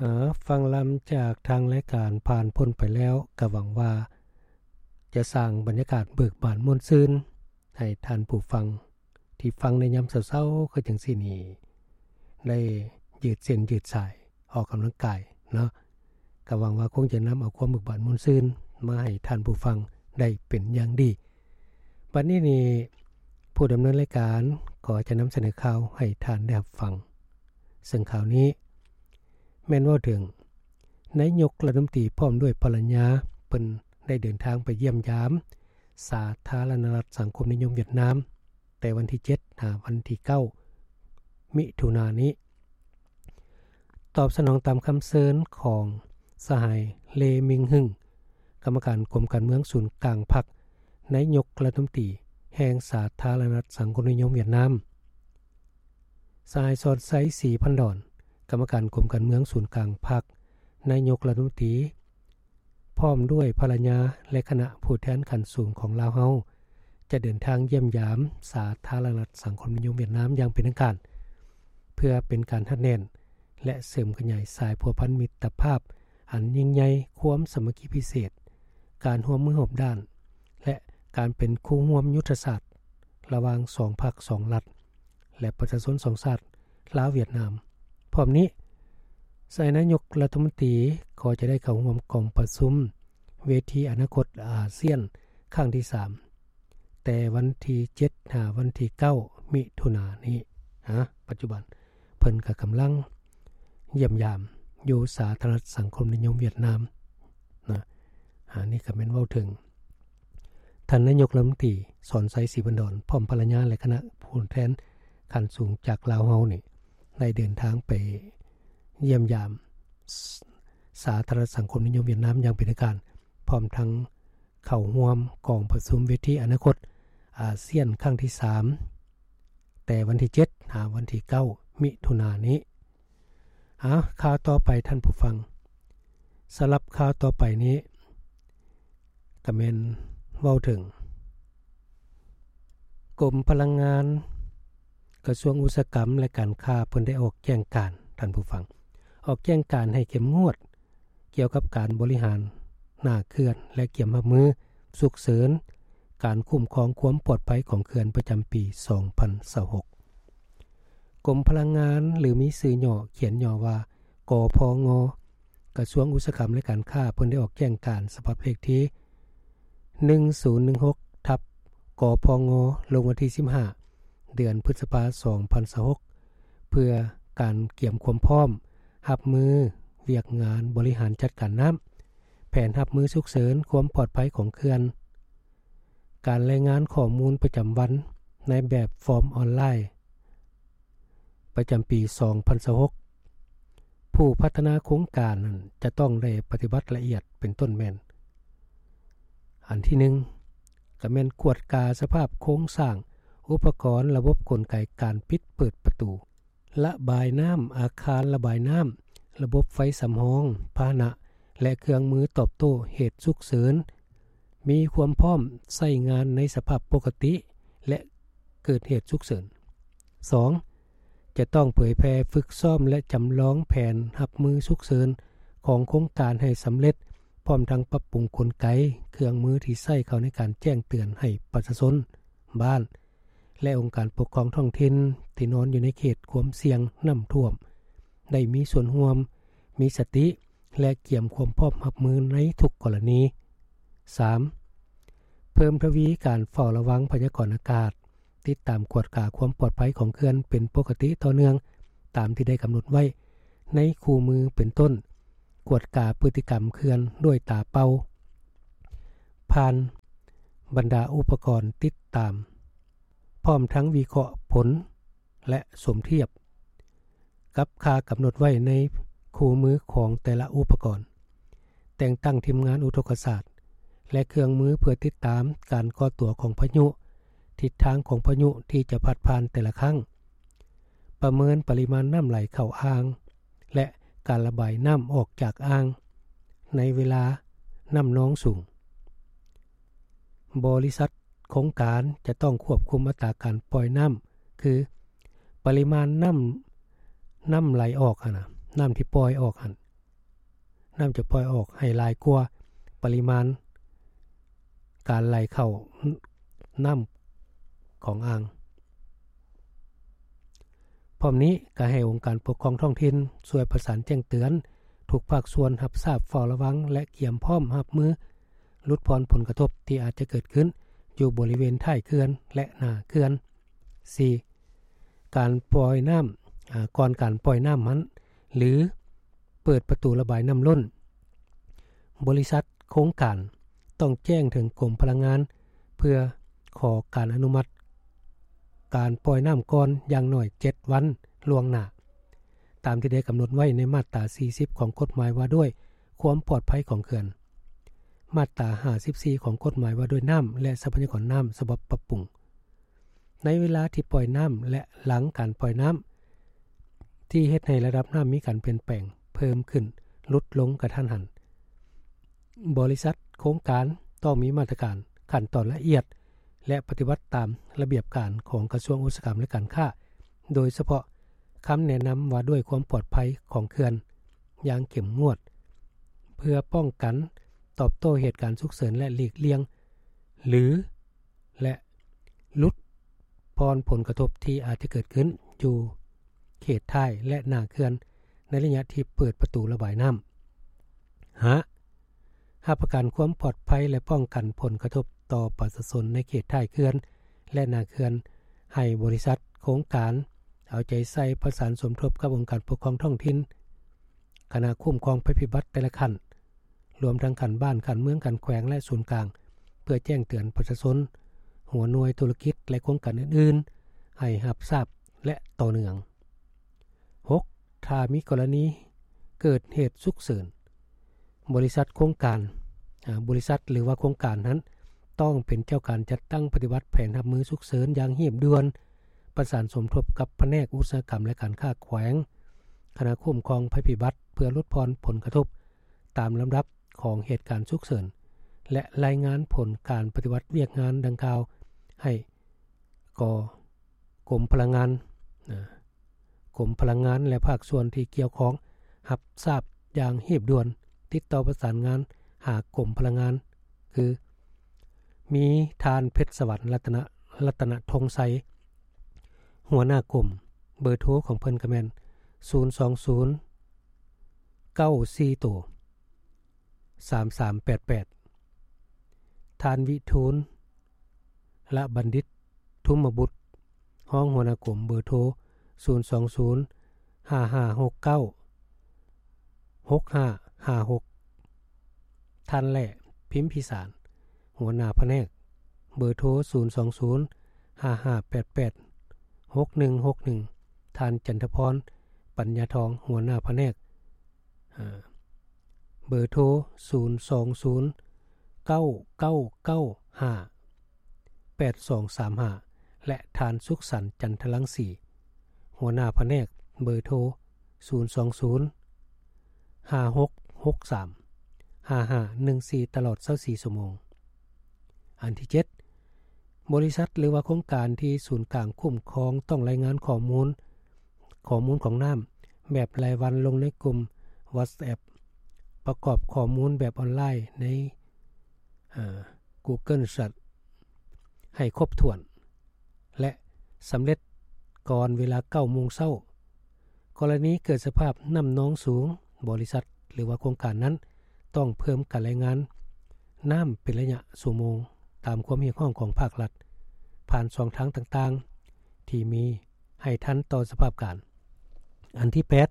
ເອີ ຟັງລຳຈາກທາງລາຍການຜ່ານພົ້ນໄປແລ້ວ ກໍຫວັງວ່າຈະສ້າງບັນຍາກາດເບີກບານມ່ວນຊື່ນໃຫ້ທ່ານຜູ້ຟັງທີ່ຟັງໃນຍາມເຊົ້າໆຄືຈັ່ງຊີ້ນີ້ ໄດ້ຢືດເສັ້ນຢືດສາຍ ອອກກຳລັງກາຍເນາະ. ກໍຫວັງວ່າຄົງຈະນຳເອົາຄວາມເບີກບານມ່ວນຊື່ນມາໃຫ້ທ່ານຜູ້ຟັງໄດ້ເປັນຢ່າງດີ. ບັດນີ້ນີ້ ຜູ້ດຳເນີນລາຍການກໍຈະນຳສະເໜີຂ່າວໃຫ້ທ່ານໄດ້ຮັບຟັງ. ເຊິ່ງຂ່າວນີ້ແມ່ນເວົ້າເຖິງນາຍົກລັດຖະມົນຕີພ້ອມດ້ວຍພັນລະຍາ ເພິ່ນໄດ້ເດີນທາງໄປຢ້ຽມຢາມສາທາລະນະລັດສັງຄົມນິຍົມຫວຽດນາມ ແຕ່ວັນທີເຈັດ ຫາວັນທີເກົ້າ ມິຖຸນານີ້. ຕອບສະໜອງຕາມຄຳເຊີນຂອງສະຫາຍ ເລ ມິງຮຶງ ກຳມະການກົມການເມືອງສູນກາງພັກ ນາຍົກລັດຖະມົນຕີແຫ່ງສາທາລະນະລັດສັງຄົມນິຍົມຫວຽດນາມ, ສະຫາຍ ສອນໄຊ ສີພັນດອນ ກຳມະການກົມການເມືອງສູນກາງພັກ ນາຍົກລັດຖະມົນຕີ ພ້ອມດ້ວຍພັນລະຍາ ແລະ ຄະນະຜູ້ແທນຂັ້ນສູງຂອງລາວເຮົາ ຈະເດີນທາງຢ້ຽມຢາມສາທາລະນະລັດສັງຄົມນິຍົມຫວຽດນາມຢ່າງເປັນທາງການ ເພື່ອເປັນການຮັດແໜ້ນ ແລະ ເສີມຂະຫຍາຍສາຍພົວພັນມິດຕະພາບອັນຍິ່ງໃຫຍ່, ຄວາມສາມັກຄີພິເສດ, ການຮ່ວມມືຮອບດ້ານ ແລະ ການເປັນຄູ່ຮ່ວມຍຸດທະສາດລະຫວ່າງສອງພັກສອງລັດ ແລະ ປະຊາຊົນສອງຊາດ ລາວ-ຫວຽດນາມ. ພ້ອມນີ້, ສະຫາຍນາຍົກລັດຖະມົນຕີກໍຈະໄດ້ເຂົ້າຮ່ວມກອງປະຊຸມເວທີອະນາຄົດອາຊຽນຄັ້ງທີສາມ ແຕ່ວັນທີເຈັດ ຫາວັນທີເກົ້າ ມິຖຸນານີ້. ອາ ປັດຈຸບັນເພິ່ນກໍກຳລັງຢ້ຽມຢາມຢູ່ສາທາລະນະລັດສັງຄົມນິຍົມຫວຽດນາມນະ. ອາ ນີ້ກໍແມ່ນເວົ້າເຖິງ ທ່ານນາຍົກລັດຖະມົນຕີ ສອນໄຊ ສີພັນດອນ ພ້ອມພັນລະຍາ ແລະ ຄະນະຜູ້ແທນຂັ້ນສູງຈາກລາວເຮົານີ້ ໄດ້ເດີນທາງໄປຢ້ຽມຢາມສາ ສາທາລະນະລັດສັງຄົມນິຍົມຫວຽດນາມຢ່າງເປັນທາງການ, ພ້ອມທັງເຂົ້າຮ່ວມກອງປະຊຸມເວທີອະນາຄົດອາຊຽນຄັ້ງທີສາມ ແຕ່ວັນທີເຈັດ ຫາວັນທີເກົ້າ ມິຖຸນານີ້. ອາ ຂ່າວຕໍ່ໄປທ່ານຜູ້ຟັງ. ສຳລັບຂ່າວຕໍ່ໄປນີ້ ກໍແມ່ນເວົ້າເຖິງ ກົມພະລັງງານ ກະຊວງອຸດສາຫະກຳ ແລະ ການຄ້າ ເພິ່ນໄດ້ອອກແຈ້ງການ, ທ່ານຜູ້ຟັງ, ອອກແຈ້ງການໃຫ້ເຂັ້ມງວດກ່ຽວກັບການບໍລິຫານໜ້າເຂື່ອນ ແລະ ກຽມຮັບມືສຸກເສີນ ການຄຸ້ມຄອງຄວາມປອດໄພຂອງເຂື່ອນປະຈຳປີສອງພັນຊາວຫົກ. ກົມພະລັງງານ ຫຼື ມີຊື່ຫຍໍ້ ຂຽນຫຍໍ້ວ່າ ກພງ, ກະຊວງອຸດສາຫະກຳ ແລະ ການຄ້າ ເພິ່ນໄດ້ອອກແຈ້ງການສະບັບເລກທີ ໜຶ່ງສູນໜຶ່ງຫົກ ທັບ ກພງ ລົງວັນທີສິບຫ້າ ເດືອນພຶດສະພາ ສອງພັນຊາວຫົກ ເພື່ອການກຽມຄວາມພ້ອມຮັບມືວຽກງານບໍລິຫານຈັດການນ້ຳ, ແຜນຮັບມືສຸກເສີນຄວາມປອດໄພຂອງເຂື່ອນ, ການລາຍງານຂໍ້ມູນປະຈຳວັນໃນແບບຟອມອອນລາຍ ປະຈຳປີສອງພັນຊາວຫົກ ຜູ້ພັດທະນາໂຄງການນັ້ນຈະຕ້ອງໄດ້ປະຕິບັດລະອຽດ ເປັນຕົ້ນແມ່ນ ອັນທີໜຶ່ງ ກໍແມ່ນກວດກາສະພາບໂຄງສ້າງ, ອຸປະກອນ, ລະບົບກົນໄກການປິດເປີດປະຕູ, ລະບາຍນ້ຳ, ອາຄານລະບາຍນ້ຳ, ລະບົບໄຟສຳຮອງ, ພາຫະນະ ແລະ ເຄື່ອງມືຕອບໂຕ້ເຫດສຸກເສີນ ມີຄວາມພ້ອມໃຊ້ງານໃນສະພາບປົກກະຕິ ແລະ ເກີດເຫດສຸກເສີນ. ສອງ ຈະຕ້ອງເຜີຍແຜ່ຝຶກຊ້ອມ ແລະ ຈຳລອງແຜນຮັບມືສຸກເສີນຂອງໂຄງການໃຫ້ສຳເລັດ, ພ້ອມທັງປັບປຸງກົນໄກ, ເຄື່ອງມືທີ່ໃຊ້ເຂົ້າໃນການແຈ້ງເຕືອນໃຫ້ປະຊາຊົນ, ບ້ານ ແລະ ອົງການປົກຄອງທ້ອງຖິ່ນທີ່ນອນຢູ່ໃນເຂດຄວາມສ່ຽງນ້ຳຖ້ວມ ໄດ້ມີສ່ວນຮ່ວມ, ມີສະຕິ ແລະ ກຽມຄວາມພ້ອມຮັບມືໃນທຸກກໍລະນີ. ສາມ ເພີ່ມທະວີການເຝົ້າລະວັງພະຍາກອນອາກາດ, ຕິດຕາມກວດກາຄວາມປອດໄພຂອງເຂື່ອນເປັນປົກກະຕິຕໍ່ເນື່ອງ ຕາມທີ່ໄດ້ກຳນົດໄວ້ໃນຄູ່ມື ເປັນຕົ້ນ ກວດກາພຶດຕິກຳເຂື່ອນດ້ວຍຕາເປົ່າ ຜ່ານບັນດາອຸປະກອນຕິດຕາມ, ພ້ອມທັງວິເຄາະຜົນ ແລະ ສົມທຽບກັບຄ່າກຳນົດໄວ້ໃນຄູ່ມືຂອງແຕ່ລະອຸປະກອນ, ແຕ່ງຕັ້ງທີມງານອຸທົກກະສາດ ແລະ ເຄື່ອງມືເພື່ອຕິດຕາມການກໍ່ຕົວຂອງພາຍຸ, ທິດທາງຂອງພາຍຸທີ່ຈະພັດຜ່ານແຕ່ລະຄັ້ງ, ປະເມີນປະລິມານນ້ຳໄຫຼເຂົ້າອ່າງ ແລະ ການລະບາຍນ້ຳອອກຈາກອ່າງໃນເວລານ້ຳນອງສູງ. ບໍລິສັດໂຄງການຈະຕ້ອງຄວບຄຸມອັດຕາການປ່ອຍນ້ຳ ຄື ປະລິມານນ້ຳ, ນ້ຳໄຫຼອອກຫັ້ນນະ, ນ້ຳທີ່ປ່ອຍອອກຫັ້ນ, ນ້ຳຈະປ່ອຍອອກໃຫ້ຫຼາຍກວ່າປະລິມານການໄຫຼເຂົ້ານ້ຳຂອງອ່າງ. ພ້ອມນີ້ກໍໃຫ້ອົງການປົກຄອງທ້ອງຖິ່ນຊ່ວຍປະສານແຈ້ງເຕືອນທຸກພາກສ່ວນຮັບຊາບ, ເຝົ້າລະວັງ ແລະ ກຽມພ້ອມຮັບມືຫຼຸດຜ່ອນຜົນກະທົບທີ່ອາດຈະເກີດຂຶ້ນຢູ່ບໍລິເວນທ້າຍເຂື່ອນ ແລະ ໜ້າເຂື່ອນ. ສີ່, ການປ່ອຍນ້ຳ, ອາ, ກ່ອນການປ່ອຍນ້ຳຫັ້ນ ຫຼື ເປີດປະຕູລະບາຍນ້ຳລົ້ນ, ບໍລິສັດໂຄງການຕ້ອງແຈ້ງເຖິງກົມພະລັງງານ ເພື່ອຂໍການອະນຸມັດການປ່ອຍນ້ຳກ່ອນຢ່າງໜ້ອຍເຈັດວັນລ່ວງໜ້າ, ຕາມທີ່ໄດ້ກຳນົດໄວ້ໃນມາດຕາສີ່ສິບຂອງກົດໝາຍວ່າດ້ວຍຄວາມປອດໄພຂອງເຂື່ອນ, ມາດຕາຫ້າສິບສີ່ຂອງກົດໝາຍວ່າດ້ວຍນ້ຳ ແລະ ຊັບພະຍາກອນນ້ຳ ສະບັບປັບປຸງ. ໃນເວລາທີ່ປ່ອຍນ້ຳ ແລະ ຫຼັງການປ່ອຍນ້ຳ ທີ່ເຮັດໃຫ້ລະດັບນ້ຳມີການປ່ຽນແປງເພີ່ມຂຶ້ນ, ຫຼຸດລົງກະທັນຫັນ, ບໍລິສັດໂຄງການຕ້ອງມີມາດຕະການ, ຂັ້ນຕອນລະອຽດ ແລະ ປະຕິບັດຕາມລະບຽບການຂອງກະຊວງອຸດສາຫະກຳ ແລະ ການຄ້າ, ໂດຍສະເພາະຄຳແນະນຳວ່າດ້ວຍຄວາມປອດໄພຂອງເຂື່ອນຢ່າງເຂັ້ມງວດ, ເພື່ອປ້ອງກັນຕອບໂຕ້ເຫດການສຸກເສີນ ແລະ ຫຼີກລ່ຽງ ຫຼື ແລະ ຫຼຸດຜ່ອນຜົນກະທົບທີ່ອາດຈະເກີດຂຶ້ນຢູ່ເຂດທ້າຍ ແລະ ໜ້າເຂື່ອນໃນໄລຍະທີ່ເປີດປະຕູລະບາຍນ້ຳ. ຫ້າ, ຮັບປະກັນຄວາມປອດໄພ ແລະ ປ້ອງກັນຜົນກະທົບຕໍ່ປະຊາຊົນໃນເຂດທ້າຍເຂື່ອນ ແລະ ໜ້າເຂື່ອນ ໃຫ້ບໍລິສັດໂຄງການເອົາໃຈໃສ່ປະສານສົມທົບກັບອົງການປົກຄອງທ້ອງຖິ່ນ, ຄະນະຄຸ້ມຄອງໄພພິບັດແຕ່ລະຂັ້ນ, ລວມທັງຂັ້ນບ້ານ, ຂັ້ນເມືອງ, ຂັ້ນແຂວງ ແລະ ສູນກາງ ເພື່ອແຈ້ງເຕືອນປະຊາຊົນ, ຫົວໜ່ວຍທຸລະກິດ ແລະ ໂຄງການອື່ນໆ ໃຫ້ຮັບຊາບ ແລະ ຕໍ່ເນື່ອງ. ຫົກ, ຖ້າມີກໍລະນີເກີດເຫດສຸກເສີນ, ບໍລິສັດໂຄງການ, ອາ, ບໍລິສັດ ຫຼືວ່າໂຄງການນັ້ນ ຕ້ອງເປັນເຈົ້າການຈັດຕັ້ງປະຕິບັດແຜນຮັບມືສຸກເສີນຢ່າງຮີບດ່ວນ, ປະສານສົມທົບກັບພະແນກອຸດສາຫະກຳ ແລະ ການຄ້າແຂວງ, ຄະນະຄຸ້ມຄອງໄພພິບັດ ເພື່ອຫຼຸດຜ່ອນຜົນກະທົບຕາມລຳດັບຂອງເຫດການສຸກເສີນ ແລະ ລາຍງານຜົນການປະຕິບັດວຽກງານດັ່ງກ່າວໃຫ້ ກໍ ກົມພະລັງງານ, ນະ, ກົມພະລັງງານ ແລະ ພາກສ່ວນທີ່ກ່ຽວຂ້ອງຮັບຊາບຢ່າງຮີບດ່ວນ. ຕິດຕໍ່ປະສານງານຫາກົມພະລັງງານ ຄື ມີທ່ານ ເພັດສະຫວັນ ລັດຕະນະ, ລັດຕະນະທົງໄຊ ຫົວໜ້າກົມ. ເບີໂທຂອງເພິ່ນກໍແມ່ນ ສູນສອງສູນ ເກົ້າສີ່ໂຕ ສາມສາມແປດແປດ. ທ່ານ ວິທູນ ລະບັນດິດ ທຸມມະບຸດ ຮອງຫົວໜ້າກົມ, ເບີໂທ ສູນສອງສູນ ຫ້າຫ້າຫົກເກົ້າ ຫົກຫ້າຫ້າຫົກ. ທ່ານ ແຫຼ້ ພິມພິສານ ຫົວໜ້າພະແນກ, ເບີໂທ ສູນສອງສູນ ຫ້າຫ້າແປດແປດ ຫົກໜຶ່ງຫົກໜຶ່ງ. ທ່ານ ຈັນທະພອນ ປັນຍາທອງ ຫົວໜ້າພະແນກ, ເບີໂທ ສູນສອງສູນ ເກົ້າເກົ້າເກົ້າຫ້າ ແປດສອງສາມຫ້າ ແລະ ທ່ານ ສຸກສັນ ຈັນທະລັງສີ ຫົວໜ້າພະແນກ, ເບີໂທ ສູນສອງສູນ ຫ້າຫົກຫົກສາມ ຫ້າຫ້າໜຶ່ງສີ່ ຕະຫຼອດຊາວສີ່ຊົ່ວໂມງ. ອັນທີເຈັດ, ບໍລິສັດ ຫຼືວ່າໂຄງການທີ່ສູນກາງຄຸ້ມຄອງຕ້ອງລາຍງານຂໍ້ມູນ, ຂໍ້ມູນຂອງນ້ຳແບບລາຍວັນລົງໃນກຸ່ມ WhatsApp ປະກອບຂໍ້ມູນແບບອອນລາຍໃນ ເອີ Google Sheets ໃຫ້ຄົບຖ້ວນ ແລະ ສຳເລັດກ່ອນເວລາເກົ້າໂມງເຊົ້າ. ກໍລະນີເກີດສະພາບນ້ຳນອງສູງ, ບໍລິສັດ ຫຼືວ່າໂຄງການນັ້ນຕ້ອງເພີ່ມການລາຍງານນ້ຳເປັນໄລຍະຊົ່ວໂມງ ຕາມຄວາມຮຽກຮ້ອງຂອງພາກລັດ ຜ່ານຊ່ອງທາງຕ່າງໆທີ່ມີ ໃຫ້ທັນຕໍ່ສະພາບການ. ອັນທີແປດ,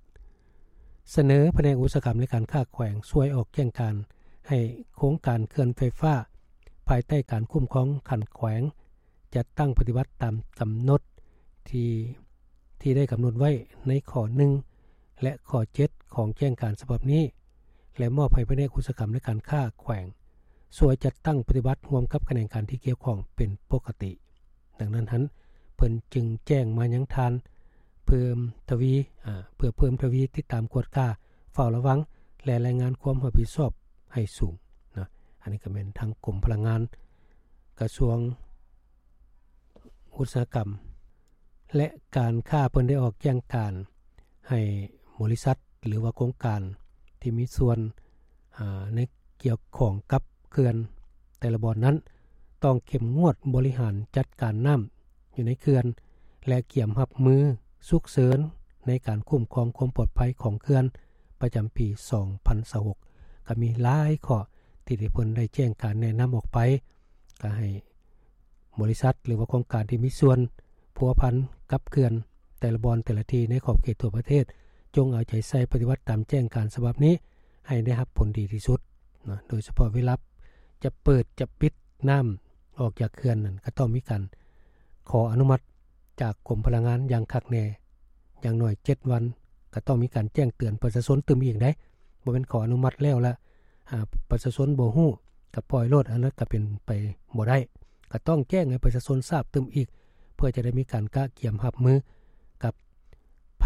ສະເໜີພະແນກອຸດສາຫະກຳ ແລະ ການຄ້າແຂວງຊ່ວຍອອກແຈ້ງການໃຫ້ໂຄງການເຂື່ອນໄຟຟ້າ ພາຍໃຕ້ການຄຸ້ມຄອງຂັ້ນແຂວງ ຈັດຕັ້ງປະຕິບັດຕາມກຳນົດທີ່ ທີ່ໄດ້ກຳນົດໄວ້ໃນຂໍ້ໜຶ່ງ ແລະ ຂໍ້ເຈັດຂອງແຈ້ງການສະບັບນີ້ ແລະ ມອບໃຫ້ພະແນກອຸດສາຫະກຳ ແລະ ການຄ້າແຂວງ ຊ່ວຍຈັດຕັ້ງປະຕິບັດຮ່ວມກັບຂະແໜງການທີ່ກ່ຽວຂ້ອງເປັນປົກກະຕິ. ດັ່ງນັ້ນຫັ້ນ ເພິ່ນຈຶ່ງແຈ້ງມາຍັງທ່ານ ເພີ່ມທະວີ ອາ ເພື່ອເພີ່ມທະວີຕິດຕາມກວດກາ ເຝົ້າລະວັງ ແລະ ລາຍງານຄວາມຮັບຜິດຊອບໃຫ້ສູງນະ. ອັນນີ້ກໍແມ່ນທາງກົມພະລັງງານ ກະຊວງອຸດສາຫະກຳ ແລະ ການຄ້າ ເພິ່ນໄດ້ອອກແຈ້ງການໃຫ້ບໍລິສັດ ຫຼືວ່າໂຄງການທີ່ມີສ່ວນ ໃນກ່ຽວຂ້ອງກັບເຂື່ອນແຕ່ລະບ່ອນນັ້ນ ຕ້ອງເຂັ້ມງວດບໍລິຫານຈັດການນ້ຳຢູ່ໃນເຂື່ອນ ແລະກຽມຮັບມືສຸກເສີນໃນການຄຸ້ມຄອງຄວາມປອດໄພຂອງເຂື່ອນປະຈຳປີສອງພັນຊາວຫົກ ກໍມີຫຼາຍຂໍ້ທີ່ເພິ່ນໄດ້ແຈ້ງການແນະນຳອອກໄປ ກໍໃຫ້ບໍລິສັດ ຫຼືວ່າໂຄງການທີ່ມີສ່ວນພົວພັນກັບເຂື່ອນແຕ່ລະບ່ອນແຕ່ລະທີ່ໃນຂອບເຂດທົ່ວປະເທດ ຈົ່ງເອົາໃຈໃສ່ປະຕິບັດຕາມແຈ້ງການສະບັບນີ້ໃຫ້ໄດ້ຮັບຜົນດີທີ່ສຸດນະ ໂດຍສະເພາະເວລາຈະເປີດຈະປິດນ້ຳອອກຈາກເຂື່ອນນັ້ນ ກໍຕ້ອງມີການຂໍອະນຸມັດຈາກກົມພະລັງງານຢ່າງຄັກແນ່ ຢ່າງໜ້ອຍເຈັດວັນ ກໍຕ້ອງມີການແຈ້ງເຕືອນປະຊາຊົນຕື່ມອີກເດ້ ບໍ່ແມ່ນຂໍອະນຸມັດແລ້ວລະ ອາ ປະຊາຊົນບໍ່ຮູ້ ກໍປ່ອຍໂລດ ອັນນັ້ນກໍເປັນໄປບໍ່ໄດ້ ກໍຕ້ອງແຈ້ງໃຫ້ປະຊາຊົນຊາບຕື່ມອີກ ເພື່ອຈະໄດ້ມີການກະກຽມຮັບມືກັບໄພ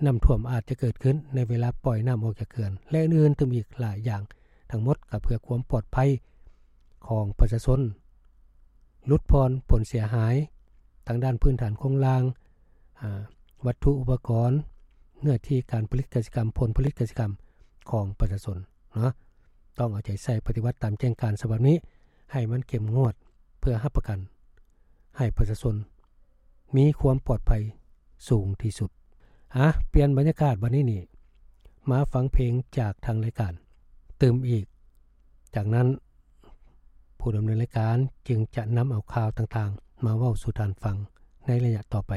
ນ້ຳຖ້ວມອາດຈະເກີດຂຶ້ນໃນເວລາປ່ອຍນ້ຳອອກຈາກເຂື່ອນ ແລະອື່ນໆຕື່ມອີກຫຼາຍຢ່າງ ທັງໝົດກໍເພື່ອຄວາມປອດໄພຂອງປະຊາຊົນ ຫຼຸດຜ່ອນຜົນເສຍຫາຍທາງດ້ານພື້ນຖານໂຄງລ່າງ ອາ ວັດຖຸອຸປະກອນ ເນື້ອທີ່ການຜະລິດກະສິກຳ ຜົນຜະລິດກະສິກຳຂອງປະຊາຊົນເນາະ ຕ້ອງເອົາໃຈໃສ່ປະຕິບັດຕາມແຈ້ງການສະບັບນີ້ໃຫ້ມັນເຂັ້ມງວດ ເພື່ອຮັບປະກັນໃຫ້ປະຊາຊົນມີຄວາມປອດໄພສູງທີ່ສຸດ. ອາ ປ່ຽນບັນຍາກາດບັດນີ້ນີ້ ມາຟັງເພງຈາກທາງລາຍການຕື່ມອີກ. ຈາກນັ້ນ ຜູ້ດຳເນີນລາຍການຈຶ່ງຈະນຳເອົາຂ່າວຕ່າງໆມາເວົ້າສູ່ທ່ານຟັງໃນໄລຍະຕໍ່ໄປ.